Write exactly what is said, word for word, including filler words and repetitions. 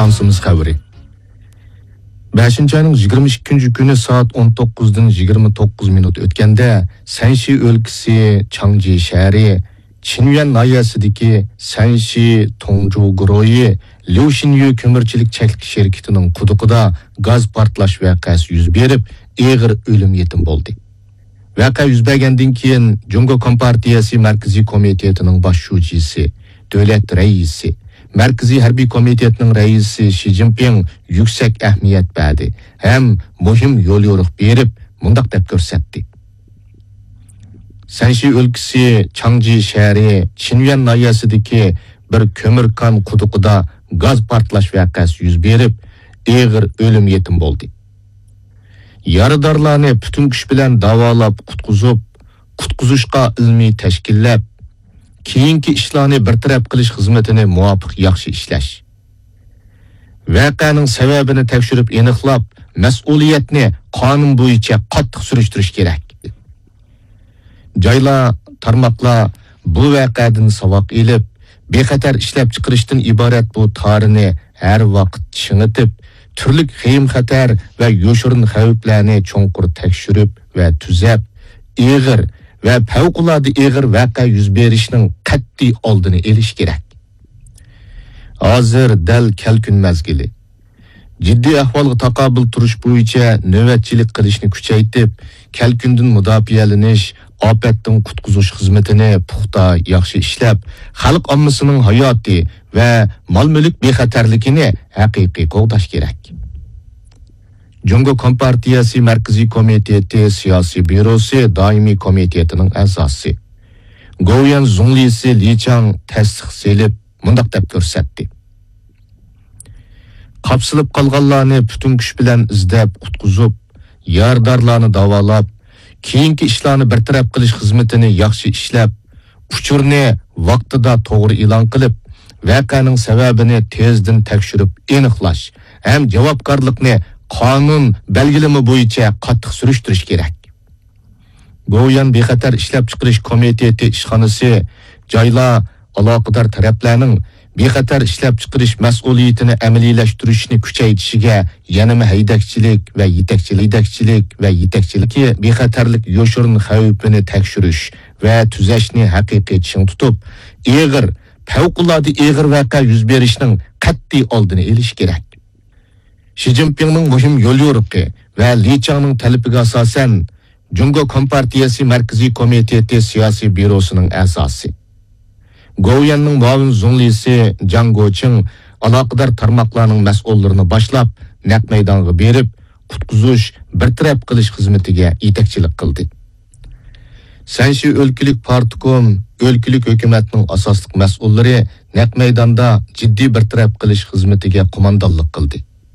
ئىستانسىمىز خەۋىرى. بەشىنچى ئاينىڭ يىگىرمە ئىككىنچى كۈنى سائەت ئون توققۇزدىن يىگىرمە توققۇز مىنۇت ئۆتكەندە، سەنشى ئۆلكىسى چاڭجى شەھىرى چىنيۈەن ناھىيەسىدىكى سەنشى توڭجۇ گۇرۇھى ليۇشىنيۈ كۆمۈرچىلىك چەكلىك شىركىتىنىڭ قۇدۇقىدا گاز پارتلاش ۋەقەسى يۈز بېرىپ، ئېغىر ئۆلۈم يېتىم بولدى. ۋەقە يۈز بەرگەندىن كېيىن، جۇڭگو كومپارتىيەسى مەركىزىي كومىتېتىنىڭ باش شۇجىسى، دۆلەت رەئىسى، مەركىزىي ھەربىي كومىتېتنىڭ رەئىسى شى جىنپىڭ يۈكسەك ئەھمىيەت بەردى ھەم مۇھىم يوليورۇق بېرىپ، مۇنداق دەپ كۆرسەتتى: سەنشى ئۆلكىسى چاڭجى شەھىرى چىنيۈەن ناھىيەسىدىكى بىر كۆمۈر كان قۇدۇقىدا گاز پارتلاش ۋەقەسى يۈز بېرىپ، ئېغىر ئۆلۈم يېتىم بولدى. يارىدارلارنى پۈتۈن كۈچ بىلەن داۋالاپ قۇتقۇزۇپ، قۇتقۇزۇشقا ئىلمىي تەشكىللەپ، كېيىنكى ئىشلارنى بىر تەرەپ قىلىش خىزمىتىنى مۇۋاپىق ياخشى ئىشلەش ۋەقەنىڭ سەۋەبىنى تەكشۈرۈپ ئېنىقلاپ، مەسئۇلىيەتنى قانۇن بويىچە قاتتىق سۈرۈشتۈرۈش كېرەك. جايلار، تارماقلار بۇ ۋەقەدىن ساۋاق ئېلىپ، بىخەتەر ئىشلەپچىقىرىشتىن ئىبارەت بۇ تارىنى ھەر ۋاقىت چىڭىتىپ، تۈرلۈك خېيىم-خەتەر ۋە يوشۇرۇن خەۋپلەرنى چوڭقۇر تەكشۈرۈپ ۋە تۈزەپ، ئېغىر ۋە پەۋقۇلئاددە ئېغىر ۋەقە يۈز بېرىشنىڭ قەتئىي ئالدىنى ئېلىش كېرەك. ھازىر دەل كەلكۈن مەزگىلى. جىددىي ئەھۋالغا تاقابىل تۇرۇش بويىچە نۆۋەتچىلىك قىلىشنى كۈچەيتىپ، كەلكۈندىن مۇداپىئەلىنىش، ئاپەتتىن قۇتقۇزۇش خىزمىتىنى پۇختا، ياخشى ئىشلەپ، خەلق ئاممىسىنىڭ ھاياتى ۋە مال-مۈلۈك بىخەتەرلىكىنى ھەقىقىي قوغداش كېرەك. جۇڭگو كومپارتىيەسى مەركىزىي كومىتېتى سىياسىي بيۇروسى دائىمىي كومىتېتىنىڭ ئەزاسى، گوۋۇيۈەن زۇڭلىسى لى چاڭ تەستىق سېلىپ، مۇنداق دەپ كۆرسەتتى: قاپسىلىپ قالغانلارنى پۈتۈن كۈچ بىلەن ئىزدەپ قۇتقۇزۇپ، يارىدارلارنى داۋالاپ، كېيىنكى ئىشلارنى بىر تەرەپ قىلىش خىزمىتىنى ياخشى ئىشلەپ، ئۇچۇرنى ۋاقتىدا توغرا ئېلان قىلىپ، ۋەقەنىڭ سەۋەبىنى تېزدىن تەكشۈرۈپ ئېنىقلاش ھەم جاۋابكارلىقنى قانۇن بەلگىلىمە بويىچە قاتتىق سۈرۈشتۈرۈش كېرەك. گوۋۇيۈەن بىخەتەر ئىشلەپچىقىرىش كومىتېتى ئىشخانىسى جايلار، ئالاقىدار تەرەپلەرنىڭ بىخەتەر ئىشلەپچىقىرىش مەسئۇلىيىتىنى ئەمەلىيلەشتۈرۈشنى كۈچەيتىشىگە يەنىمۇ ھەيدەكچىلىك ۋە يېتەكچىلىك، ھەيدەكچىلىك ۋە يېتەكچىلىكى بىخەتەرلىك يوشۇرۇن خەۋپىنى تەكشۈرۈش ۋە تۈزەشنى ھەقىقىي چىڭ تۇتۇپ، ئېغىر، پەۋقۇلئاددە ئېغىر ۋەقە يۈز بېرىشنىڭ قەتئىي ئالدىنى ئېلىش كېرەك. شى جىنپىڭنىڭ مۇھىم يوليورۇقى ۋە لى چاڭنىڭ تەلىپىگە ئاساسەن، جۇڭگو كومپارتىيەسى مەركىزىي كومىتېتى سىياسىي بيۇروسىنىڭ ئەزاسى، گوۋۇيۈەننىڭ مۇئاۋىن زۇڭلىسى جاڭ گوچىڭ ئالاقىدار تارماقلارنىڭ مەسئۇللىرىنى باشلاپ، نەق مەيدانغا بېرىپ، قۇتقۇزۇش، بىر تەرەپ قىلىش خىزمىتىگە يېتەكچىلىك قىلدى. سەنشى ئۆلكىلىك پارتكوم ئۆلكىلىك ھۆكۈمەتنىڭ ئاساسلىق مەسئۇللىرى نەق مەيداندا جىددىي بىر تەرەپ قىلىش خىزمىتىگە قوماندانلىق قىلدى.